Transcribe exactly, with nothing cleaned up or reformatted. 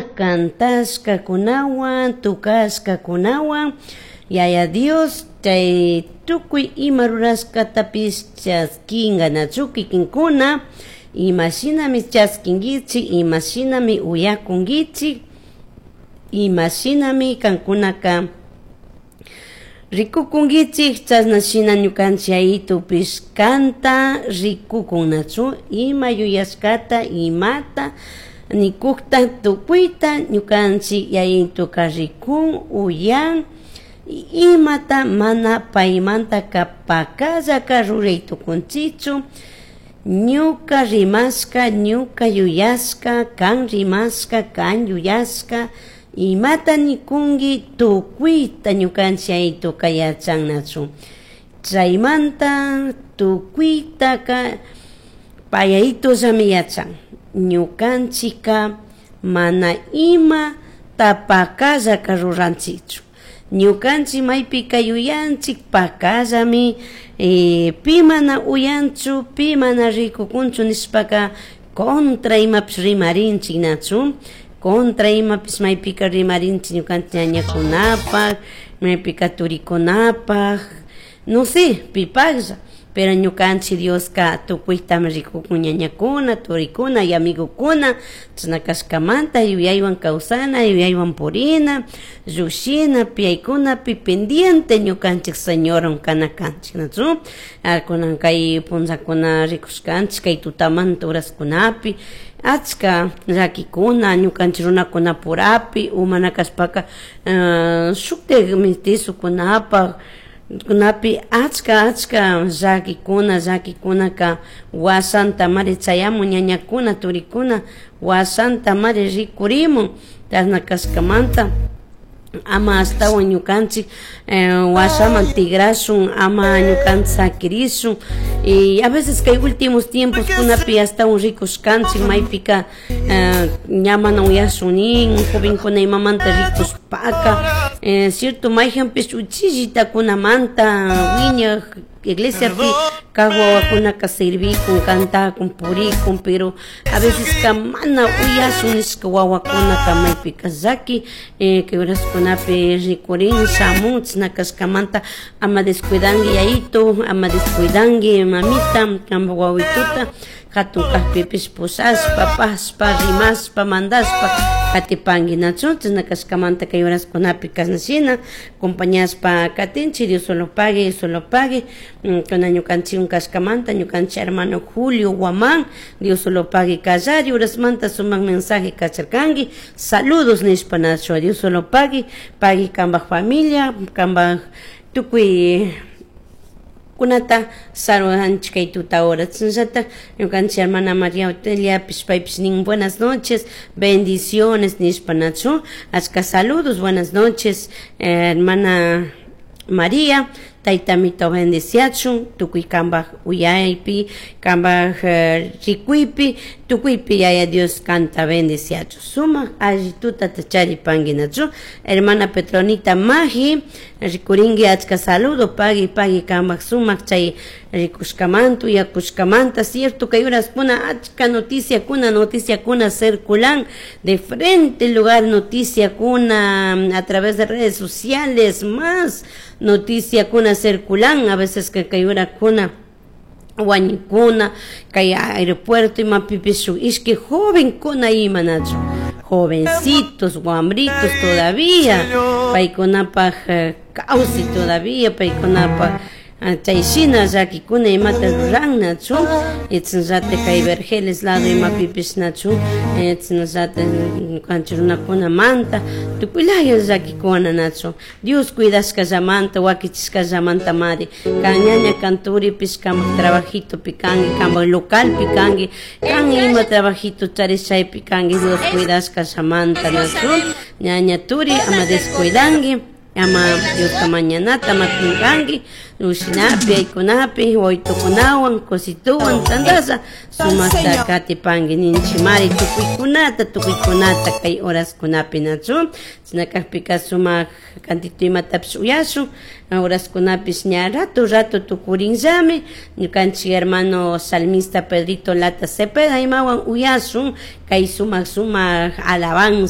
Sumak kantashkakunawan, tukashkakunawan, Yaya Dios chay tukuy ima rurashkatapish chaskinga nachu kikinkuna, imashinami chaskinkichik, imashinami uyakunkichik, imashinami kankunaka rikukunkichik, chashna shina ñukanchik yayitupish kanta rikukunnachu, ima yuyashkata, imata nikukta tukuyta ñukanchik yayituka rikun, uyan, imata mana paymantaka pakallaka ruray tukunchikchu. Ñuka rimashka, ñuka yuyashka, kan rimashka, kan yuyashka, imata nikunki tukuyta ñukanchik yayituka yachannachu. Chaymanta tukuytaka payayitullami yachan. Ñukanchikka mana ima tapakallaka ruranchikchu. Ñukanchik maypika yuyanchik pakallami eh, pi mana uyanchu, pi mana rikukunchu nishpaka contra imapish rimarinchik nachu, contra imapish maypika rimarinchik ñukanchik ñañakunapak, maypika turikunapak, no sé, pipaklla. Pero ñukanchik Dioska tukuytami rikukun ñañakuna, turikuna y amigokuna, chashna kashkamanta yuyaywan kawsana, yuyaywan purina, llushina, piyaykunapi pendiente ñukanchik Señorwan kana kanchik, nachu? Kunan kay punllakuna rikushkanchik kay tutamanta horaskunapi, achka llakikuna ñukanchik runakunapurapi, o mana kashpaka shuktik mestizokunapak, kunapi achka achka llakikuna, llakikunaka wasanta mari chayamun ñañakuna, turikuna wasanta mari rikurimun, chashna kashkamanta ama ashtawan ñukanchik washaman tigrashun, ama ñukanchik sakirishun. Y a veces kay últimos tiempos kunapi ashtawan rikushkanchik maypika ña mana uyashun nin jovenkuna imamanta rikushpaka, cierto mayjanpish uchillitakunamanta wiñak iglesiapi kak wawakunaka servikun, kantakun, purikun, pero a veces ka mana uyashun nishka wawakunaka maypika llaki kay horaskunapi rikurin shamun, chashna kashkamanta ama descuidanki yayito, ama descuidanki mamita, kanpak wawituta hatun kakpipish pushashpa, pashpa, rimashpa, mandashpa katipanki nachu, chashna kashkamanta kay horaskunapi kashna shina acompañashpa katinchik. Dios solo pague, Dios solo pague. Kuna ñukanchik kashkamanta ñukanchik hermano Julio Guamán, Dios solo pague kallari horasmanta sumak mensaje kacharkanki, saludos nishpa nachu, Dios solo pague, pague kanpak familia, kanpak tukuy kunata saludanchik kay tuta hora. Chashnallata ñukanchik hermana María Otelia paypish nin buenas noches, bendiciones nishpa nachu, achka saludos, buenas noches, hermana María, taytamito bendiciachun, tukuy kanpak uyaypi, kanpak rikuypi, tukuypi Yaya Dios kanta bendiciachun. Sumak alli tutata charipanki nachu. Hermana Petronita Maji, rikurinki achka saludo, pagui pagui kanpak sumak chay rikushkamanta, uyakushkamanta, cierto kay horaskuna achka noticiakuna, noticiakuna circulan de frente lugar, noticiakuna a través de redes sociales, más noticiakuna circulan, a veces que kay horakuna wañukuna kay aeropuerto imapipish shuk ishki jovenkuna ima nachu, jovencitos, guambritos todavía, paykunapak kawsay todavía, paykunapak chay shina llakikuna imata ruran nachu, chashnallata kay Vergeles lado imapipish nachu, chashnallata ñukanchik runakunamanta tukuylaya llakikuna nachu, Dios cuidashkallamanta, wakichishkallamanta mari, kan ñaña kan turipish kanpak trabajitopi kanki, kanpak localpi kanki, kan ima trabajito charish chaypi kanki, Dios cuidashkallamanta nachu, ñaña turi ama descuidanki, ama Diosta mañanata ama pinkanki, ushinapi, aykunapi, waytukunawan, cosituwan, tandasha, sumakta katipanki ninchimari tukuykunata, tukuykunata kay horaskunapi nachu, chashna kakpika sumak kantito imatapish uyashun, horaskunapish ña rato rato tukurinllami, ñukanchik hermano salmista Pedrito Lata Cepeda imawan uyashun kay sumak sumak alabanza.